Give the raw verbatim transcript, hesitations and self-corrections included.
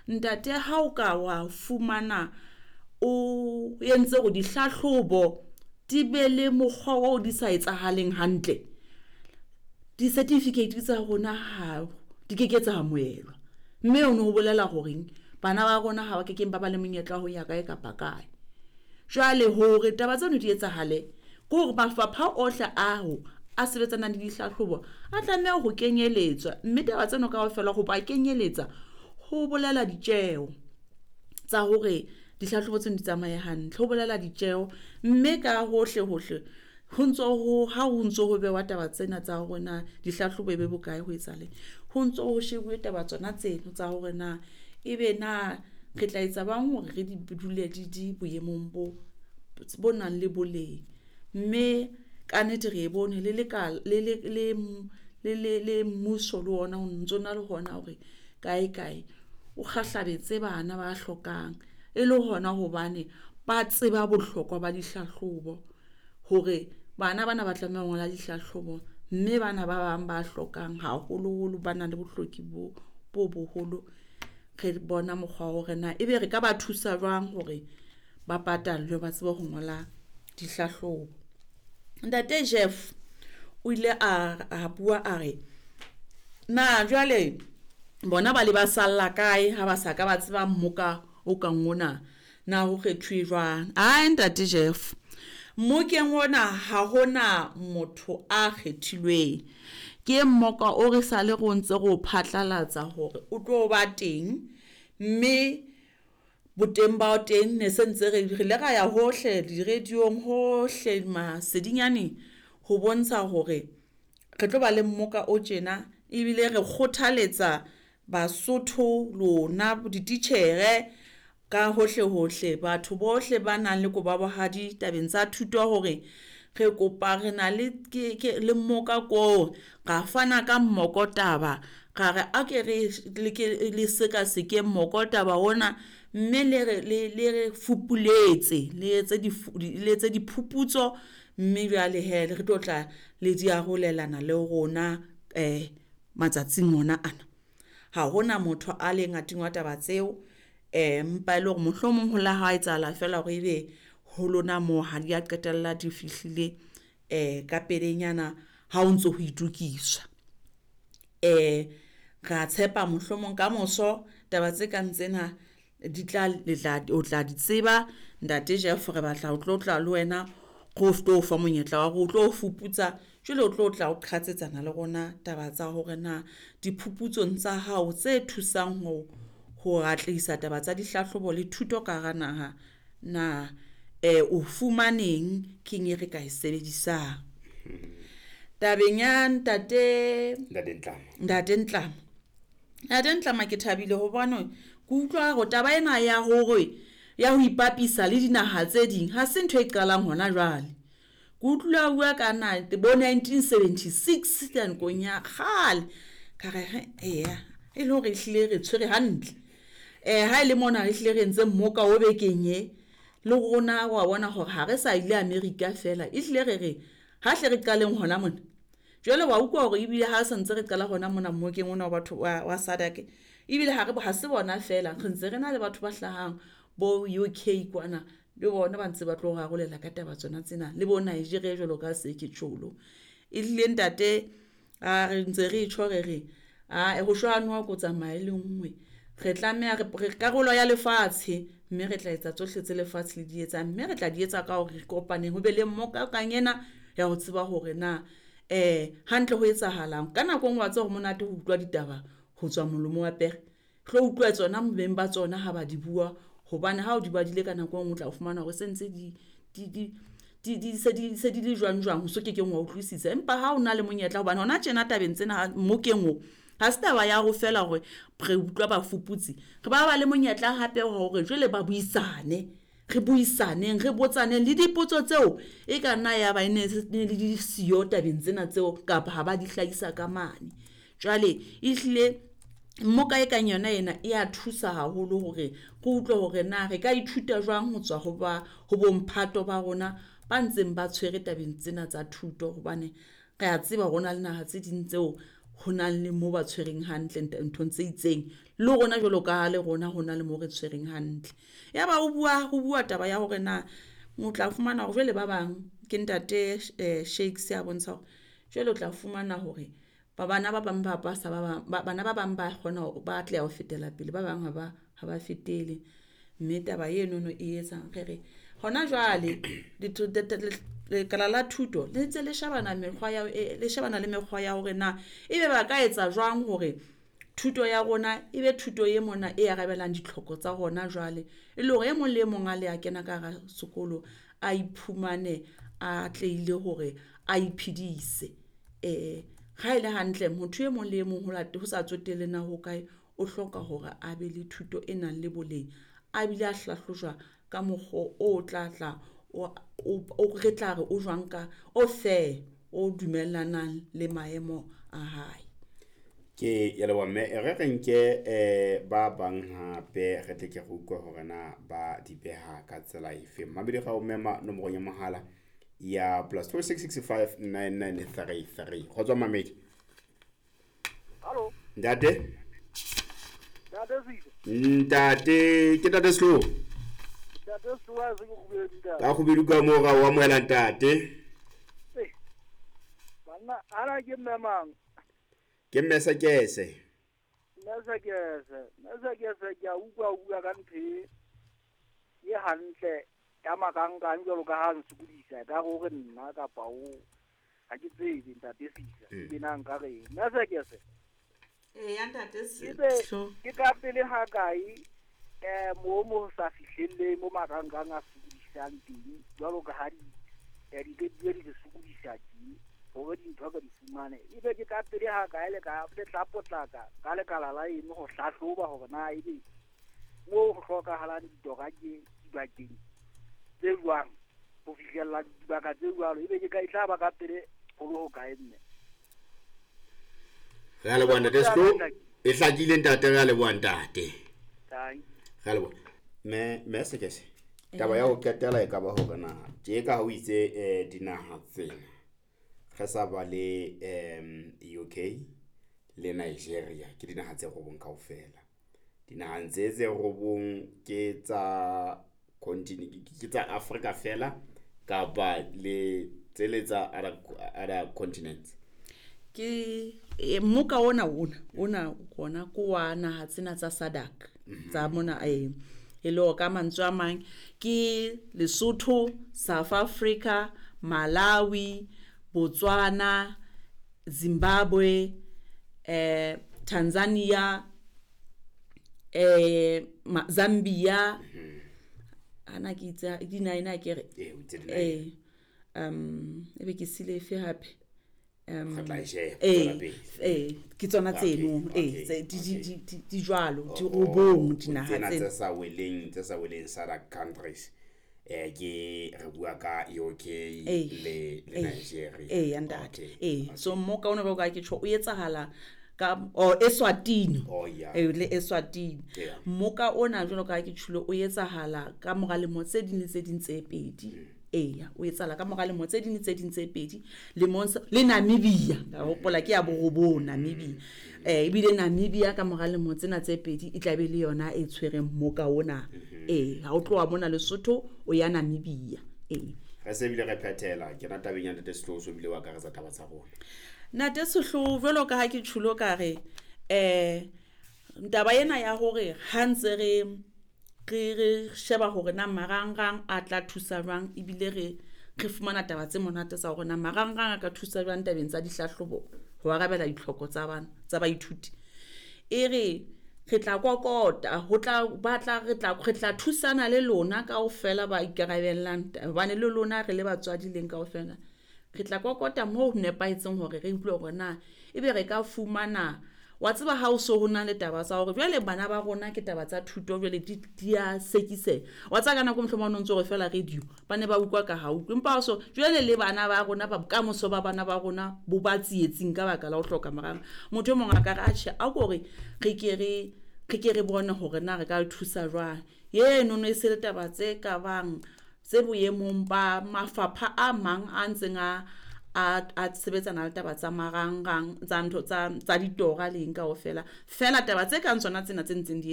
Ntate, ha o ka wa fumana o entse hore dihlahlobo di be le mokgwa oo di sa etsahaleng hantle, di-certificate tsa rona ha di keke tsa amohelwa, mme hono ho bolela horeng bana ba rona ha ba kekeng ba ba le monyetla wa ho ya kae kapa kae. Jwale hore taba tseno di etsahale ke hore mafapha ohle ao a sebetsanang le dihlahlobo a tlameha ho kenyeletswa, mme taba tseno kaofela ho ba kenyeletsa ho bolela ditjeho tsa hore dihlahlobo tseno di tsamaye hantle, ho bolela ditjeho, mme ka hohle hohle ho ntso ho ha ho ntso ho bewa taba tsena tsa hore na dihlahlobo e be bokae ho etsahaleng, ho ntso ho shebuwe taba tsona tseno tsa hore na ebe na re tla etsa bang hore re di dule di di boemong bo bo nang le boleng. Mme ka nnete re e bone le lekala le le le le le le mmuso le ona o ntso na le hona hore kae kae o kgahlabetse bana ba hlokang e le hona hobane ba tseba bohlokwa ba dihlahlobo hore bana bana ba tlameha ho ngola dihlahlobo, mme bana ba bang ba hlokang haholoholo ba nang le bohloki bo bo boholo. Re bona mokgwa wa hore na ebe re ka ba thusa jwang hore ba patallwe ba tsebe ho ngola dihlahlobo. Ntate Jeff o ile a a bua a re, na jwale bona ba le ba salla kae ha ba sa ka ba tseba mmoka o kang ona, na ho kgethuwe jwang? Ae ntate Jeff, mmokeng ona ha hona motho a kgethilweng, ke mmoka o re sale re o ntse re o phatlalatsa hore o tlo ba teng, mme boteng ba teng ne se ntse re re ile ra ya hohle di-radio-ng hohle masedinyaneng ho bontsha hore re tlo ba le mmoka o tjena ebile re kgothaletsa Basotho lona dititjhere ka hohle hohle, batho bohle ba nang le kobo ya bohadi tabeng tsa thuto hore re kopa re na le ke ke le mmoka ko ra fana ka mmoko taba, ra re a ke re le ke le seka sekeng moko taba ona, mme le re le le re fupuletse le etse di le etse diphuputso, mme jwale hee re tlo tla le di arolelana le rona eh matsatsing ona ana. Ha hona motho a leng a tingwa taba tseo, empa e le hore mohlomong ho la ha etsahala feela hore ebe ho lona moo ha di a qetella di fihlile ka pelenyana ha o ntso ho itokiswa. Ra tshepa mohlomong kamoso taba tse kang tsena di tla le tla o tla di tseba ntate Jeff, re batla ho tlo tla le wena re tlo o fa monyetla wa hore o tlo fuputsa jwale o tlo tla o qhatsetsana le rona taba tsa hore na diphuputsong tsa hao tse thusang ho ho atlehisa taba tsa dihlahlobo le thuto ka hara naha na eh o fumaneng keng e re ka e sebedisang. Tabeng ya ntate Ntate Ntlama. Ntate Ntlama, Ntate Ntlama ke thabile hobane ke utlwa hore taba ena ya hore ya ho ipapisa le dinaha tse ding ha se ntho e qalang hona jwale. Ke utlwile a bua ka na bo nineteen seventy six nakong ya kgale, ka re he eya e le hore ehlile re tshwere hantle. Eh ha ele mona re hlile re entse mmoka o bekeng e le rona wa bona hore ha re sa ile America fela, ehlile re re ha hle re qaleng hona mona. Jwale wa utlwa hore ebile ha se ntse re qala hona mona mmokeng ona wa batho wa, wa SADC, ebile ha re ha se bona fela re ntse re na le batho ba hlahang bo U K kwana le bona ba ntse ba tlo rarolela ka taba tsona tsena le bo Nigeria jwalo ka se ke tjholo. Ehlile ntate a re ntse re tjho re re a ho shwa noha ko tsamaya e le nngwe, re tlameha re re karolo ya lefatshe, mme re tla etsa tsohle tse lefatshe le di etsang, mme re tla di etsa ka hore re kopaneng ho be le mmoka kang ena ya ho tseba hore na eh hantle ho etsahalang. Ka nako e nngwe wa tseba hore monate ho utlwa ditaba ho tswa molomo wa pere, tlo utlwa tsona beng ba tsona ha ba di bua, hobane ha o di badile ka nako e nngwe o tla fumana hore se ntse di di di di di se di se di le jwang jwang, o so kekeng wa utlwisisa. Empa ha o na le monyetla hobane hona tjena tabeng tsena mmokeng o ha se taba ya ho fela hore re utlwa bafuputsi, re ba ba le monyetla hape wa hore jwale ba buisane, re buisaneng re botsaneng le dipotso tseo e ka nna ya ba e ne ne le di siyo tabeng tsena tseo kapa ha ba di hlahisa ka mane. Jwale ehlile mmoka e kang yona ena e ya thusa haholo hore re utlwe hore na re ka ithuta jwang ho tswa ho ba ho bomphato ba rona ba ntseng ba tshwere tabeng tsena tsa thuto, hobane re a tseba hore ho na le naha tse ding tseo ho na le mo ba tshwereng hantle nthong tse itseng, le rona jwalo ka le rona ho na le mo re tshwereng hantle. Ya ba o bua ho bua taba ya hore na o tla fumana hore jwale ba bang ke ntate Shakes a bontsha hore jwale o tla fumana hore ba bana ba bang ba pasa ba bang bana ba bang ba kgona ho ba atleha ho fetela pele, ba bang ha ba ha ba fetele. Mme taba enono e etsang re re hona jwale lekala la thuto le ntse le shebana mekgwa ya le shebana le mekgwa ya hore na ebe ba ka etsa jwang hore thuto ya rona e be thuto e mona e arabelang ditlhoko tsa hona jwale, e le hore e mong le e mong a le a kena ka hara sekolo, a iphumane a atlehile hore a iphedise. Eh ha ele hantle motho e mong le e mong ho ho sa tsotelle na ho kae, o hloka hore a be le thuto e nang le boleng, a bile a hlahlojwa ka mokgwa o tla tla o o re tla re o jwang ka o fair, o dumellanang le maemo a hae. Ke ya leboha mme, e re re nke eh ba bang hape re tle ke re utlwe hore na ba di beha ka tsela efe. Mmamedi ga o mema nomorong ya mohala ya plus two six six five nine nine three three. Kgotso mamedi. Hallo. Ntate. Ntate Sile. Ntate, ke ntate Slo. Ntate Slo a se ke kgubedu ntate. Ka kgubedu ka mo ga o amohela ntate. Eh. Banna ana ke mme mang? Ke mme Sekese. Mme Sekese, mme Sekese ke a utlwa o bua ka ntho e e hantle ya makankang jwalo ka ha nsokodisa ka hore nna kapa o ha ke tsebe ntate Sisa ke na nka re mme Sekese. Eh ya ntate Slo. Ke ka pele ha kae eh mo mo sa fihlelle mo makankang a sokodisang teng jwalo ka ha di di di di sokodisa teng hore dintho ka di fumane ebe ke ka pele ha kae le ka le tla potlaka ka lekala la eng ho hlahloba hore na ebe mo ho hlokahalang ditora ke dibakeng tse jwang ho fihlella dibaka tse jwalo ebe ke ka e tla ba ka pele ho le ho kae mme. Re a leboha ntate Slo, e hlakile ntate, re a leboha ntate. Re a leboha. Mme mme Sekese, taba ya ho qetela e ka ba hore na tje ka ha o itse eh dinaha tsena re sa ba le um U K le Nigeria ke dinaha tse robong kaofela. Dinahang tse tse robong ke tsa continent ke tsa Africa fela kapa le tsele tsa other other continents? Ke mmoka ona ona ona kona ko wa naha tsena tsa SADC tsa mona e e le ka mantswe a mang ke Lesotho, South Africa, Malawi, Botswana, Zimbabwe, eh Tanzania, eh Zambia, ana ke itse di nine a ke re eh um ebe ke sile efe hape um eh eh ke tsona tseno eh tse di di di jwalo di robong dinaha tsena tse sa weleng tse sa weleng SADC countries eh ke re bua ka U K le le Nigeria eh ntate eh so mmoka ona ba ka ke tjho o etsahala ka o Eswatini eh le Eswatini mmoka ona jwalo ka ke tjhulo o etsahala ka mora lemo tse ding le tse ding tse pedi eh o etsahala ka mora lemo tse ding le tse ding tse pedi le le Namibia ka hopola ke ya borobong Namibia eh ebile Namibia ka mora lemo tsena tse pedi e tla be le yona e tshwereng mmoka ona eh ha o tloha mona Lesotho o ya Namibia eh re se bile re phethela ke rata tabeng ya ntate Sehloho so bile wa akaretsa taba tsa rona. Ntate Sehloho jwalo ka ha ke tjhulo ka re eh taba ena ya hore ha ntse re re re sheba hore na marangrang a tla thusa jwang ebile re re fumana taba tse monate tsa hore na marangrang a ka thusa jwang tabeng tsa dihlahlobo ho arabela ditlhoko tsa bana tsa baithuti e re re tla kokota ho tla batla re tla re tla thusana le lona kaofela ba ikarabellang hobane le lona re le batswadi leng kaofela re tla kokota moo ho nepahetseng hore re utlwe hore na ebe re ka fumana wa tseba ha o so ho na le taba tsa hore jwale bana ba rona ke taba tsa thuto jwale di di a sekise wa tsaka nako mohlomong o ntse re fela radio ba ne ba utlwa ka ha utlwe empa so jwale le bana ba rona ba bokamoso ba bana ba rona bo ba tsietsing ka baka la ho hloka marang motho e mong a ka re atjhe a ko re re ke re re ke re bone hore na re ka thusa jwang yeno no e se le taba tse ka bang tse boemong ba mafapha a mang a ntseng a a a sebetsana le taba tsa marangrang tsa ntho tsa tsa ditora le eng kaofela. Feela taba tse kang tsona tsena tse ntseng di etsahala.